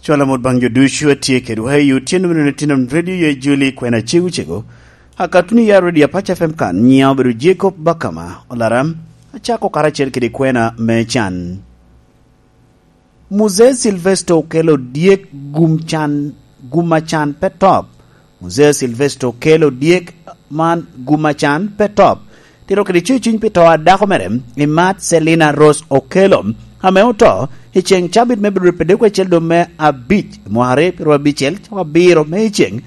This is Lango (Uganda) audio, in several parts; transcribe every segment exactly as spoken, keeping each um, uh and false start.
Cwalo amot baŋ jo ducu a tye kedwa i otyeno meno, Tinom Radio yo i Juli, kwena cego cego. Akatuni ya Radio Apac F M kan, nyiŋa obedo Jacob Bakama Olaram, acako karacel kede kwena me can. Muzee Silvester Okello dyek gum can, gum a can pe top. Muzee Silvester Okello dyek man gum a can pe top. Tito kede cuciny pi to a dako mere, Imat Selina Rose Okello, ame oto i ceŋ cabit me bedo ripedeko acel dwe me abic, mwaka aryo pyeraryo abicel, cawa abiro me i ceŋ.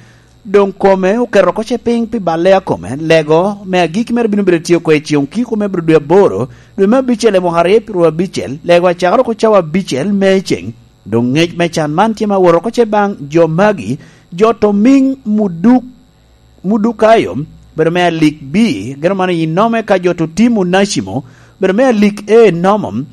Doŋ kome oketo oko ce piny pi balle a kome, lego me agikki mere bino bedo tye oko i ceŋ okiko me bedo dwe aboro, dwe me abicel i mwaka aryo pyeraryo abicel, lego acakere oko cawa abicel me i ceŋ. Doŋ ŋec me can man tye ma woro oko ce baŋ jo magi, jo to miŋ Muduk-, Mudukayo, bedo me alik B, geno man i nome ka jo to Tim Onacimo, bedo me alik A nomo,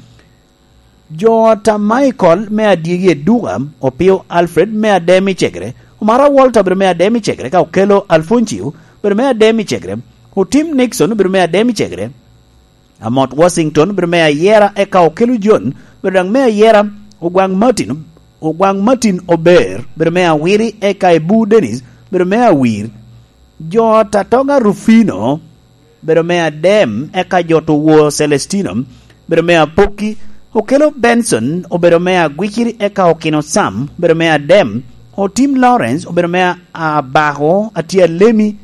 jo ot a Michael me adyegi Eduka, Opio Alfred me adem i Cegere, Omara Walter bedo me adem i Cegere, ka Okello Alfoncio bedo me adem i Cegere, Otim Nixon bedo me adem i Cegere, Amot Washington bedo me ayera, eka Okello John bedo daŋ me ayera, Ogwaŋ Martin, Ogwaŋ Martin Ober bedo me awiri, eka Ebu Dennis bedo me awir. Jo ot a Toga Rufino bedo me adem, eka jo to Wor Celestino bedo me apokki, Okello Benson obedo me agwiciri, eka Okino Sam bedo me adem, Otim Lawrence obedo me a-, abako, atye alemi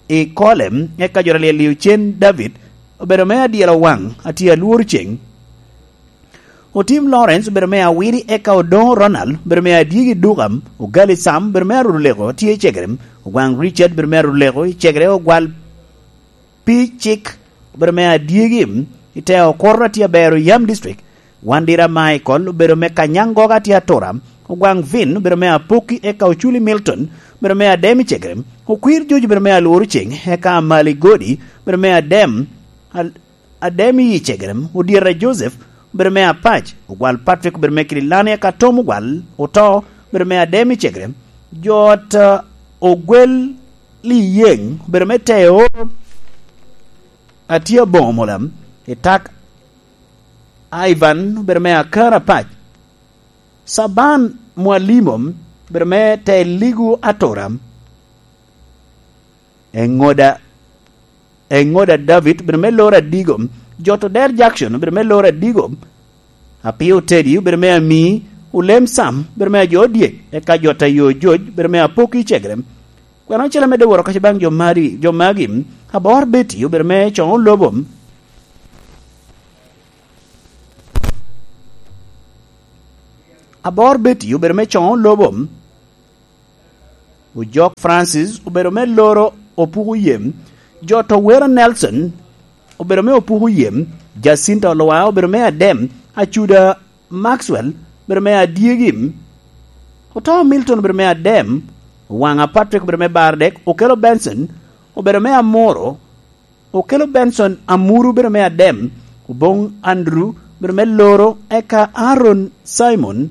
i kole, eka jo to Lyel Ocen David obedo me adyelo waŋ, atye alworo ceŋ. Otim Lawrence obedo me awiri, eka Odoŋo Ronald obedo me adyegi Duka, Ogali Sam obedo me aruleko, tye i Cegere, Ogwaŋ Richard obedo me aruleko i Cegere, Ogwal Pi Cik obedo me adyegi i te okoro, atye abero Yam District, Wandira Michael obedo me Kanyangoga, atye atura, Ogwaŋ Vin obedo me apokki, eka Oculi Milton obedo me adem i Cegere, Okwir Joji obedo me alworo ceŋ, eka Amali Godi obedo me adem, al-, adem i Cegere, Odyeta Joseph obedo me Apac, Ogwal Patrick obedo me Kililani, eka Tom Ogwal oto obedo me adem i Cegere, jo ot, uh, Ogwel Liyeŋ obedo me Teo, atye aboŋo mola, i tak Ivan obedo me Akar Apac, Saban Mwalimo obedo me Teo Ligu Atura, Eŋoda, Eŋoda David obedo me Loro Adigo, jo to Der Jackson obedo me Loro Adigo, Apio Teddy obedo me Ami, Olem Sam obedo me Ajo Odyek, eka jo to Ayo Joj obedo me Apokki Cegere. Kwena ocele amedde woro kaca baŋ jo mari, jo magi, Abor Betty obedo me Coŋo Lobo, Abor Betty obedo me Coŋo Lobo, Ojok Francis obedo me Loro Opuko Yem, jo to Wera Nelson obedo me Opuko Yem, Jacinta Olwa obedo me Adem, Acuda Maxwell obedo me Adyegi, Oto Milton obedo me Adem, Owaŋa Patrick obedo me Bardek, Okello Benson obedo me Amuro, Okello Benson Amuru obedo me Adem, Oboŋ Andrew obedo me Loro, eka Aaron Simon,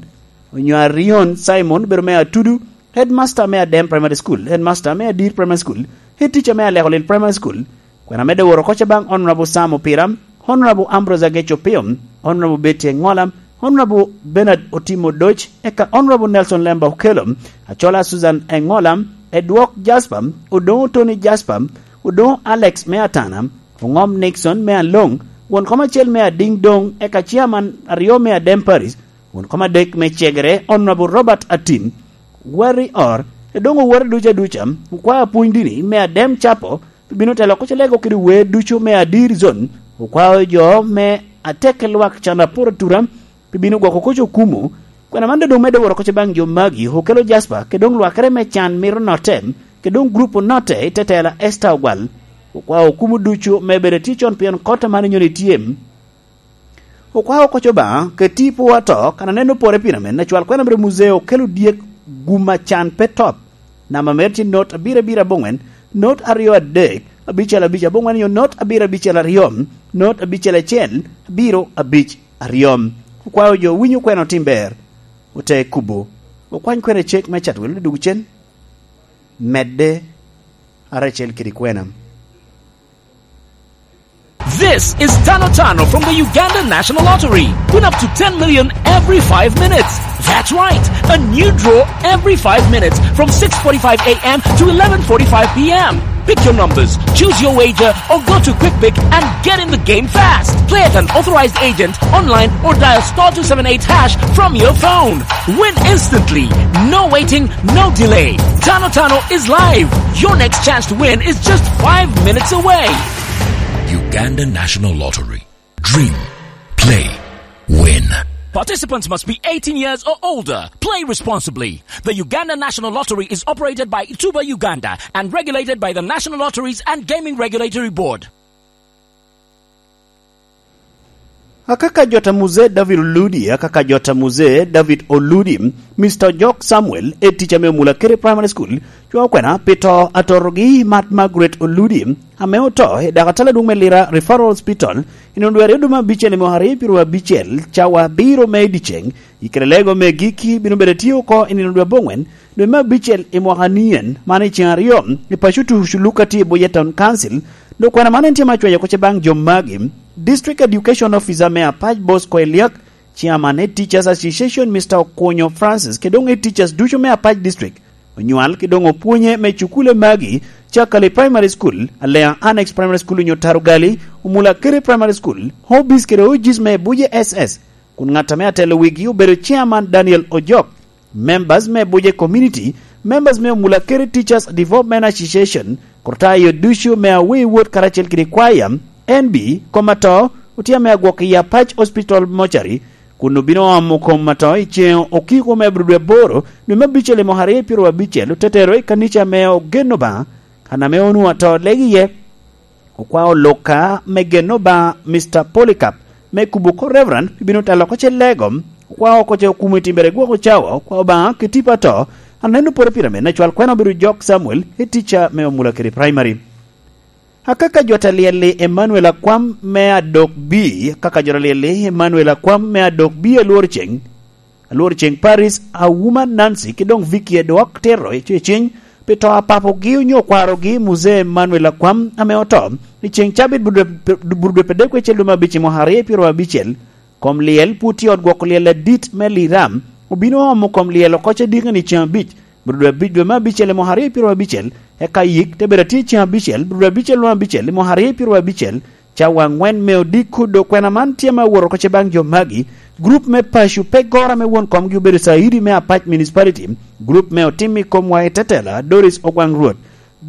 onyo Arion Simon obedo me Atudu, headmaster me Adem Primary School, headmaster me Adir Primary School, head teacher me Alekolil Primary School. Kwena amedde woro oko ca baŋ Honorable Sam Opira, Honorable Ambrose Agec Opio, Honorable Betty Engola, Honorable Bernard Otimo Doc, eka Honorable Nelson Lemba Okello, Acola Susan Engola, Edwok Jasper, Odoŋo Tony Jasper, Odoŋo Alex me Atana, Oŋom Nixon me Aloŋ, won kom acel me Adiŋ Doŋ, eka chairman aryo me Adem Parish, won kom adek me Cegere, Honorable Robert Atim, Warrior, Edoŋo owote ducu aduca, okwao apwony dini me Adem Capo, pi bino telo oko ca lego kede wer ducu me Adir Zone, okwao jo me atek lwak can apor atura, pi bino gwoko koc okumo. Kwena man doŋ medde woro koc baŋ jo magi, Okello Jasper, kede doŋ lwakere me can mito notte, kede doŋ grup onotte i tetela Esther Ogwal. Okwao okumo ducu me bedo tye con pien kot aman inyoni tye. Okwao koc Obaŋa, keti i pwo ato, kan aneno pore pien amen, acwal kwena mere Muzee Okello dyek gum a can pe top. Namba mere tye not abiro abiro aboŋwen, not aryo adek, abicel abic aboŋwen, nyo not abiro abicel aryo, not abicel acel, abiro abic aryo. Okwao jo winyo kwena otim ber, ote kubo. Okwany kwena i cek me Chatwel odug cen, medde aracel kede kwena. This is Tano Tano from the Uganda National Lottery. Win up to ten million every five minutes. That's right, a new draw every five minutes from six forty-five a m to eleven forty-five p m. Pick your numbers, choose your wager, or go to Quick Pick and get in the game fast. Play at an authorized agent, online, or dial star two seven eight hash from your phone. Win instantly. No waiting, no delay. Tano Tano is live. Your next chance to win is just five minutes away. Uganda National Lottery. Dream. Play. Win. Participants must be eighteen years or older. Play responsibly. The Uganda National Lottery is operated by Tuba Uganda and regulated by the National Lotteries and Gaming Regulatory Board. Akaka jota Muzee David Oludi, akaka jota Muzee David Oludi, Mister Ojok Samuel, e tica me Omula Kere Primary School, cwa okwena pi to atorogi Mat Margaret Oludi, ame oto i dak atala adwoŋ me Lira Referral Hospital, i nino dwe aryo dwe me abicel i mwaka aryo pyeraryo abicel, cawa abiro me i dyeceŋ, i kare lego me gikki bino bedo tye oko i nino dwe aboŋwen, dwe me abicel i mwaka nien, man i ceŋ aryo, i paco Tucu Luka tye i Buye Town Council, dok kwena man en tye ma cwenyo oko ce baŋ jo magi. District Education Officer me Apac Bosco Eliak, Chairman Head Teachers Association Mister Okunyo Francis, kede doŋ Head Teachers ducu me Apac District, onywal kede doŋ opwonye me cukule magi, Cakali Primary School, Alea Annex Primary School onyo Tarugali, Omula Kere Primary School, Hobbies kede O Gs me Buje S S, kun ŋat ame atelo wigi obedo Chairman Daniel Ojok. Members me Buje Community, members me Omula Kere Teachers Development Association, kor tayo ducu me Awii Wot karacel kede kwaya, N B, kom ato, otye ame agwok i Apac Hospital Mortuary, kun obino omo kom ato i ceŋ okiko me abiro dwe aboro, dwe me abicel i mwaka aryo pyeraryo abicel, otetero i kanica me Ogen Obaŋa, kan ame onwoŋo ato lego iye. Okwao Luka me Gen Obaŋa, Mister Polycarp, me kubo oko Reverend, bino telo oko ce lego, okwao oko ce okumo i timbere gwoko cawa, okwao Obaŋa kede tipo ato, aneno poro pire me nacwal kwena obedo Jok Samuel, i tica me Omula kede Primary. Akaka jot alyel-li Emmanuel Akwam me Adok B, akaka jot alyel-li Emmanuel Akwam me Adok B Alwor Ceng, Alwor Ceng Paris, Awuma Nancy, ki doŋ Vicky Edwok Tero i ceciny, pi to a papogi onyo kwarogi Muzee Emmanuel Akwam ame oto, i ceŋ cabit burudwe, burudwe pedek kwecel dwe me abic i mwaka aryo pyeraryo abicel. Kom lyel pwod tye i ot gwoko lyel adit me Liram, obino omo kom lyel oko ce dikeni ceŋ abic, burudwe abic dwe me abicel i mwaka aryo pyeraryo abicel, eka yik te bedo atye ceŋ abicel, burudwe abicel dwe me abicel i mwaka aryo pyeraryo abicel, cawa aŋwen me odiko dok kwena man tye ame awot oko ce baŋ jo magi, gurup me paco pe goro ame won komgi obedo Caidi me Apac Municipality, gurup me otim i komwa i tetela Doris Ogwaŋ Rwot,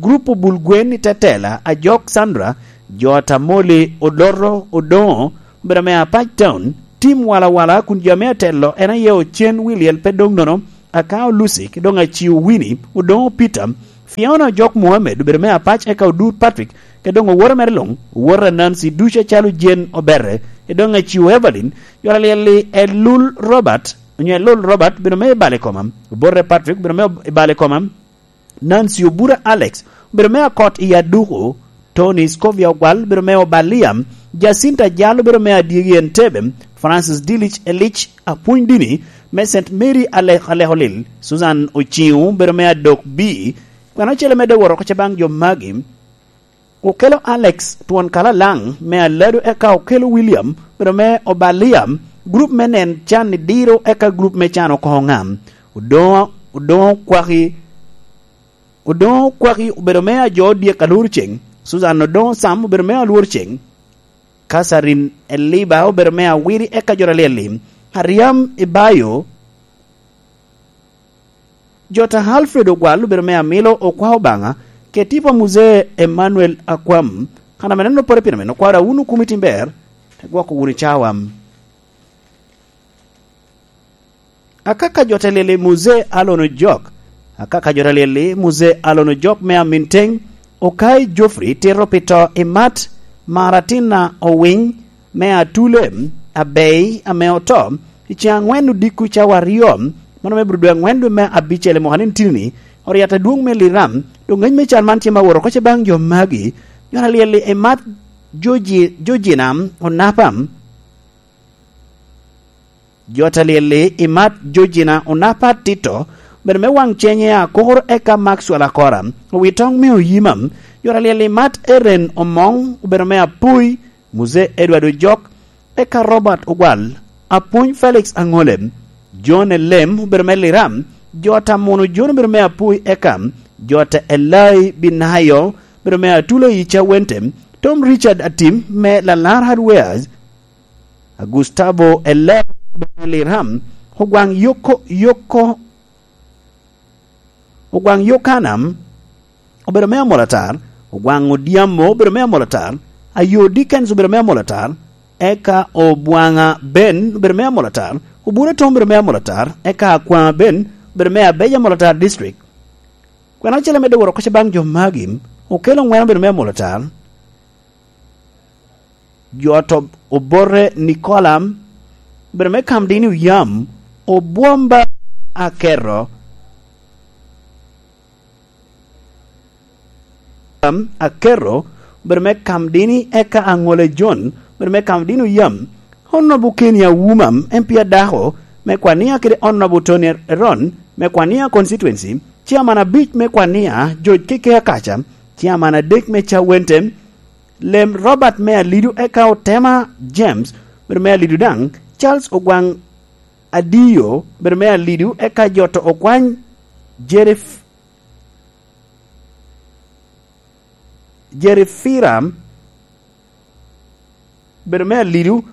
gurup obul gwen i tetela Ajok Sandra, jo Atamoli Odoto Odoŋo, obedo ame Apac Town, tim walawala kun jo ame atelo en aye Ocen Wiliel pe doŋ nono, Akao Lucy, ki doŋ Aciu Winnie, Odoŋo Peter, Fiona Ojok Mohammed, obedo me Apac eka Odur Patrick, ki doŋ owote mere luŋ, owote a Nancy ducu acalo Jane Obere, ki doŋ Aciu Evelyn, jot alyel-li Elul Robert, onyo Elul Robert, obedo me Ibale Koma, Obote Patrick, obedo me Ibale Koma, Nancy Obura Alex, obedo me Akot i Aduku, Tony Scovia Ogwal, obedo me Obalia, Jacinta Jal, obedo me Adyegi Entebbe, Francis Dilich Elich, apwony dini me Saint Mary Ale-, Aleholil, Susan Ociŋo, obedo me Adok B, kwena ocele medde woro oko ce baŋ jo magi, okelo Alex Twon Kalalaŋ me Alado, eka okelo William, obedo me Obalia, gurup me nen can i diro, eka gurup me can oko ŋam. Odoŋo, Odoŋo Kwaki, Odoŋo Kwaki obedo me Ajo Odyek Alwor Ceng, Susan Odoŋo Sam obedo me Alwor Ceng, Catherine Eliba obedo me Awiri eka jot alyel-li, Aryam Ibayo, jot a Alfred Ogwal obedo me Amilo Okwa Obaŋa, kede tipo a Muzee Emmanuel Akwam. Kan ame neno pore pire meno, kwara wun okumi tim ber, te gwoko wunu cawa. Akaka jot alyel-li Muzee Alon Ojok. Akaka jot alyel-li Muzee Alon Ojok me Aminteng, Okai Geoffrey tito pi to i Mat, Maratina Owiny me Atule, Abei ame oto, i ceŋ aŋwen odiko cawa aryo, mano me bro dwe aŋwen dwe me abicel i mwaka ni tini-ni, Oriat adwoŋ me Liram, doŋ ŋec me can man tye ma woro oko ce baŋ jo magi, jot alyel-li i Mat Joji-, Jojina Onapa, Jot alyel-li i Mat Jojina Onapa Tito, obedo me waŋ cenye Akor eka Maxwell Akora, owi toŋ me Oyima. Jot alyel-li Mat Eren Omoŋ, obedo me Apoi, Muzee Edward Ojok, eka Robert Ogwal, Apwony Felix Aŋole, Jon Elem obedo me Liram, Jota Muno Jon obedo me Apui Ekam, Jota Elai Binayo obedo me Atula i Cawente, Tom Richard Atim me Lalar Hardwares, Gustavo Elai obedo me Liram, Ogwaŋ Yoko, Yoko, Ogwaŋ Yokanam obedo me Amolatar, Ogwaŋ Odyamo obedo me Amolatar, Ayo Dickens obedo me Amolatar, eka Obwaŋa Ben obedo me Amolatar, Obura Tom obedo me Amolatar, eka Akwaŋa Ben obedo me Abeja Amolatar District. Kwena acel ame doŋ woro kocce baŋ jo magi, Okello Ŋwen obedo me Amolatar, Jot Ob-, Obote Nicola obedo me Kamdini Oyam, Obwomba Akerro, Am, Akerro obedo me Kamdini, eka Aŋole John obedo me Kamdini Oyam, Honorable Kenny Awuma, M P adako me Kwania, kede Honorable Tony Eron me Kwania constituency, Chairman abic me Kwania, George Keke Akaca, Chairman adek me Cawente, Lem Robert me Alidu, eka Otema James obedo me Alidu daŋ, Charles Ogwaŋ Adiyo obedo me Alidu, eka Jot Okwany Jerif-, Jerifira obedo me Alidu,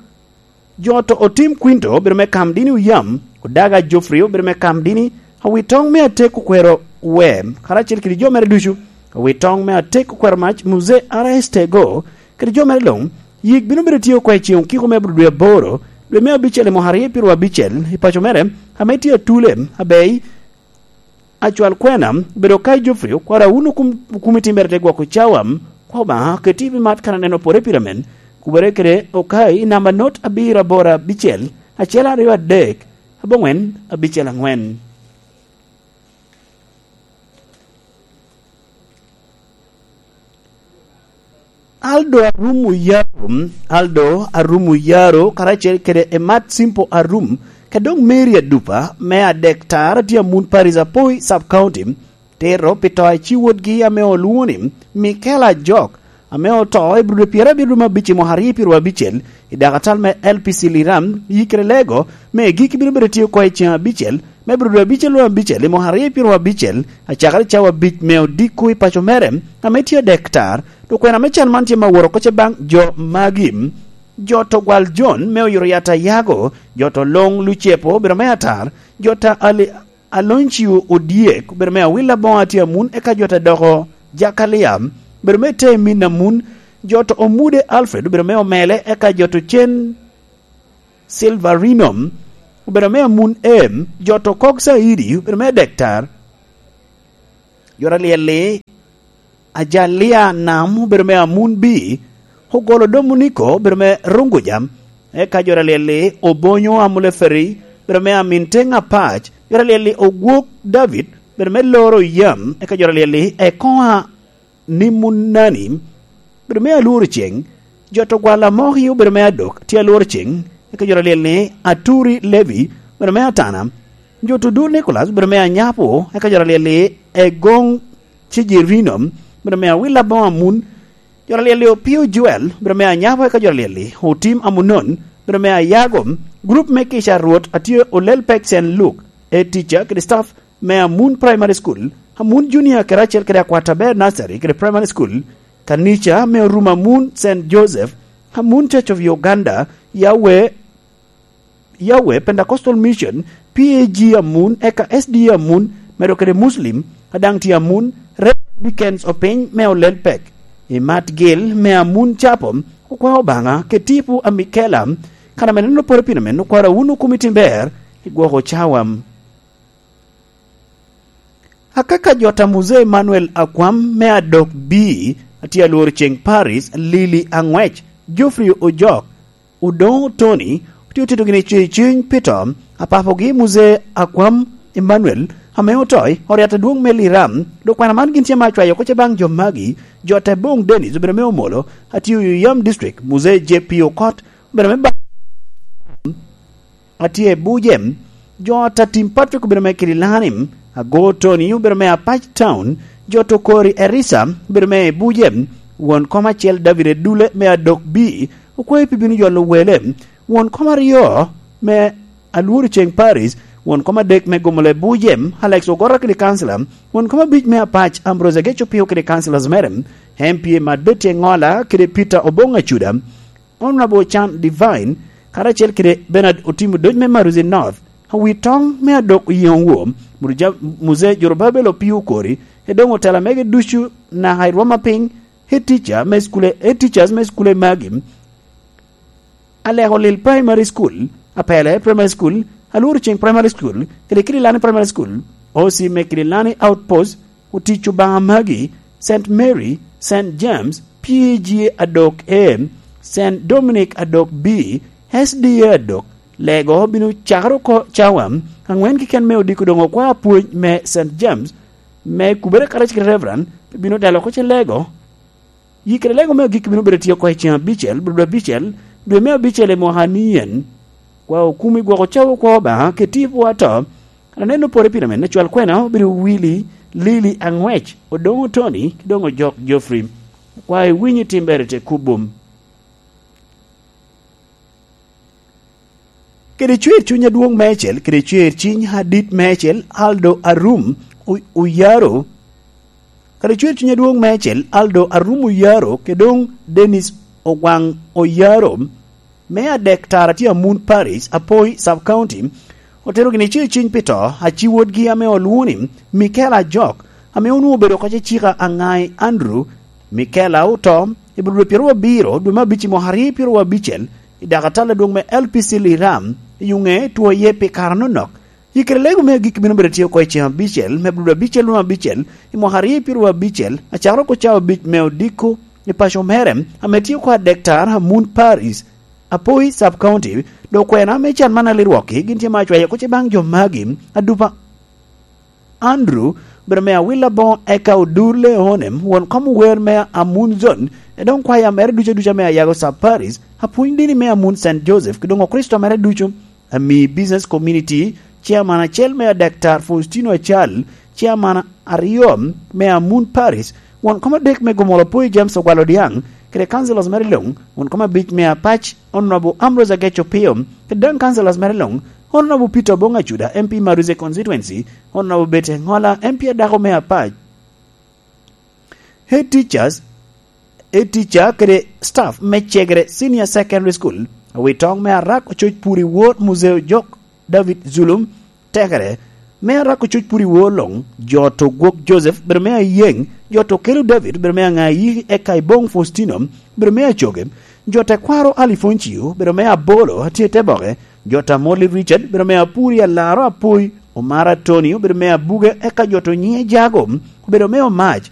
Jot Otim Quinto obedo me Kamdini Oyam, Odaga Geoffrey obedo me Kamdini, Awitoŋ me Atek Okwero Wer, karacel kede jo mere ducu, Awitoŋ me Atek Okwero Mac, Muzee R S Tego, kede jo mere luŋ, yik bino bedo tye oko i ceŋ okiko me abiro dwe aboro, dwe me abicel i mwaka aryo pyeraryo abicel, i paco mere, ame tye Atule, Abei, Acwal Kwena, obedo ka i Geoffrey, okwaro wun okum-, okumi timmere te gwoko cawa, kwa Obaŋa, keti pi mat kan aneno pore pire men, kubere kede Okai i namba not abiro aboro abicel, acel aryo adek, aboŋwen, abicel aŋwen. Aldo Arum Oyaro, Aldo Arum Oyaro, karacel kede Emat Simple Arum, ka dok Mary Adupa, me adek tar, tye Amun Paris Apoi, Sub County, tero pi to a ci wotgi ame olwoŋo ni Michael Ajok, ame oto i Abril pyerabiro me abic i mwaka aryo pyeraryo abicel, i dakatal me L P C Liram, yikere lego, me gik bino bedo tye oko i ceŋ abicel, me Abril abicel luŋ abicel i mwaka aryo pyeraryo abicel, acakere cawa abic me odiko i paco mere, ame tye adek tar, dok kwena me can man tye me aworo kocce baŋ jo magi. Jot Ogwal John me Oyuro Yat Ayago, Jot Oloŋ Lucepo obedo me atar, Jot Ali-, Aloncio Odyek obedo me Awil Aboŋo, atye Amun, eka Jot Adoko Jakalia obedo me Temin Amun, Jot Omude Alfred obedo me Omele, eka Jot Ocen Silverino obedo me Amun em, Jot Okok Saidi obedo me adek tar, Jot Alyel-li Ajalia Nam obedo me Amun B, Ogolo Domuniko obedo me Runguja, eka Jot Alyel-li Obonyo Amuleferi obedo me Amin Teŋ Apac, Jot Alyel-li Ogwok David obedo me Loro Yam, eka Jot Alyel-li Ekoŋa Nimunani obedo me Alworo Ceŋ, Jot Ogwal Amoki obedo me Adok, tye Alworo Ceŋ, eka Jot Alyel-li Aturi Levi obedo me Atana, Jot Odul Nicholas obedo me Anyapo, eka Jot Alyel-li Egoŋ Cejirino obedo me Awil Aboŋo Amun, Jot Alyel-li Opio Joel obedo me Anyapo, eka Jot Alyel-li Otim Amunon obedo me Ayago, gurup me Kica Rwot atye Olel Pek Sen Luk, e tica kede staff me Amun Primary School, Amun Junior kede acel kede Akwata Ber Nursery kede Primary School, kanica me Orum Amun Saint Joseph, Amun Church of Uganda, Yahweh, Yahweh Pentecostal Mission, P A G Amun, eka S D A Amun, medo kede Muslim, a daŋ tye Amun, Reverend Dickens Opiny me Olel Pek, i Mat Gil me Amun Chapel, okwa Obaŋa, ketipo a Mikela, kan ame neno poro pino men, okwara wun okumi timber, i gwoko cawa. Akaka Jot a Muzee Emmanuel Akwam me Adok B, atye Alworo Ceŋ Paris, Lili Aŋwec, Geoffrey Ojok, Odoŋo Tony, otye otedo gini cuny cuny pi to, apapogi Muzee Akwam Emmanuel, ame otoi, Oriat adwoŋ me Liram, dok kwana man gin tye ma acwayo kocce baŋ jo magi, Jot Eboŋ Dennis obedo me Omolo, atye Oyuyam District, Muzee J P Okot, obedo me ba-, atye i Bujem, Jot Atim Patrick obedo me Kidilani, Ago Tony obedo me Apac Town, Jot Okori Erisa obedo me Bujem, won kom acel David Edule me Adok B, okwayo pi bino jolo wele, won kom aryo me Alworo Ceŋ Paris, Won kom adek me Gomole Bujem, Alex Ogora kede kancila. Won kom abic me Apac, Ambrose Ageco Pio kede councillors mere, M P A Mat Betty Engola kede Peter Obong Acuda, Honorable Chan Divine, karacel kede Bernard Otim Odoc me Maruzi North, awi toŋ me adok oyeŋo wo, Muruja-, Muse Jorobabel Opio Okori, edoŋ otela mege ducu naka i rwom apiny, head teacher me skule, head teachers me skule magi, Aleko Lil Primary School, Apele Primary School, Alworo Ceng Primary School, kede Kililani Primary School, O C me Kililani Outpost, Otic Obaŋa magi, Saint Mary, Saint James, P G adok A, Saint Dominic adok B, S D A adok, Lego bino cakere oko cawa aŋwen keken me odiko doŋ okwao pwony me Saint James, me kubere karacel kede Reverend, bino dalo oko ce Lego. Yikere Lego me agikki bino bedo tye oko i ceŋ abicel, bro abicel, dwe me abicel i mwaka ni en. Kwa okumi gwoko cawa okwa Obaŋa, keti pwo ato. Aneno pore pire men, acwal kwena obedo Willy, Lili Aŋwec, Odoŋo Tony, ki doŋ Ojok Geoffrey. Kwa iwinyo timbere te kubum. Kede cwer cuny adwoŋ meicel, kede cwer ciny adit meicel, Aldo Arum, O-, Oyaro. Kede cwer cuny adwoŋ meicel, Aldo Arum Oyaro, kede doŋ Dennis Ogwaŋ Oyaro, me adek tara tye Amun Parish, Apoi Sub County, otero gini cwer ciny pi to, aci wodgi ame olwoŋo ni Michael Ajok, ame onwoŋo obedo oko cecika Aŋai Andrew, Michael a oto, i bur dwe pyeraryo abiro, dwe me abic i mwaka aryo pyeraryo abicel, i dak atal adwoŋ me L P C Liram, i Yuŋe, two iye pi kare anonok. Yikere Lego me agikki bino bedo tye oko i ceŋ abicel, me bur dwe abicel, dwe me abicel, i mwaka aryo pyeraryo abicel, acakere oko cawa abic me odiko, i paco mere, ame tye oko adek tara Amun Parish, Apoi Sub County, dok kwena me can man alirwokki, gin tye ma acwayo oko ce baŋ jo magi, adupa Andrew, obedo me Awila Boŋo, eka Odur Leonem, won kom ower me Amun Zone, e doŋ kwaya mere ducu aduca me Ayago Sub Parish, apwony dini me Amun Saint Joseph, ki doŋ Okricito mere ducu, ami business community, chairman acel me Daktar Faustino Acal, chairman aryo me Amun Parish, won kom adek me Gomolo Poi James Ogwal Odiaŋ, kede councillors mere luŋ, won kom abic me Apac, Honorable Ambrose Ageco Pio, kede daŋ councillors mere luŋ, Honorable Peter Obong Acuda, M P Maruze Constituency, Honorable Betty Engola, M P adako me Apac. Head teachers, head teacher kede staff me Cegere Senior Secondary School, awitoŋ me Arak Ococ Puri Wor Muzeo Jok David Zulum, tekere me Arak Ococ Puri Wor luŋ, jo to Gwok Joseph, bedo me Ayeŋ, jo to Kelo David, bedo me Aŋayi, eka Ibong Faustino, bedo me Acoge, jo tekwaro Alifoncio, bedo me Abolo, atye te boke, jo ta Morley Richard, bedo me Apuri Alaro Apoi, Omara Tony, obedo me Abuge, eka jo to Nyiŋe Jago, obedo me Omac,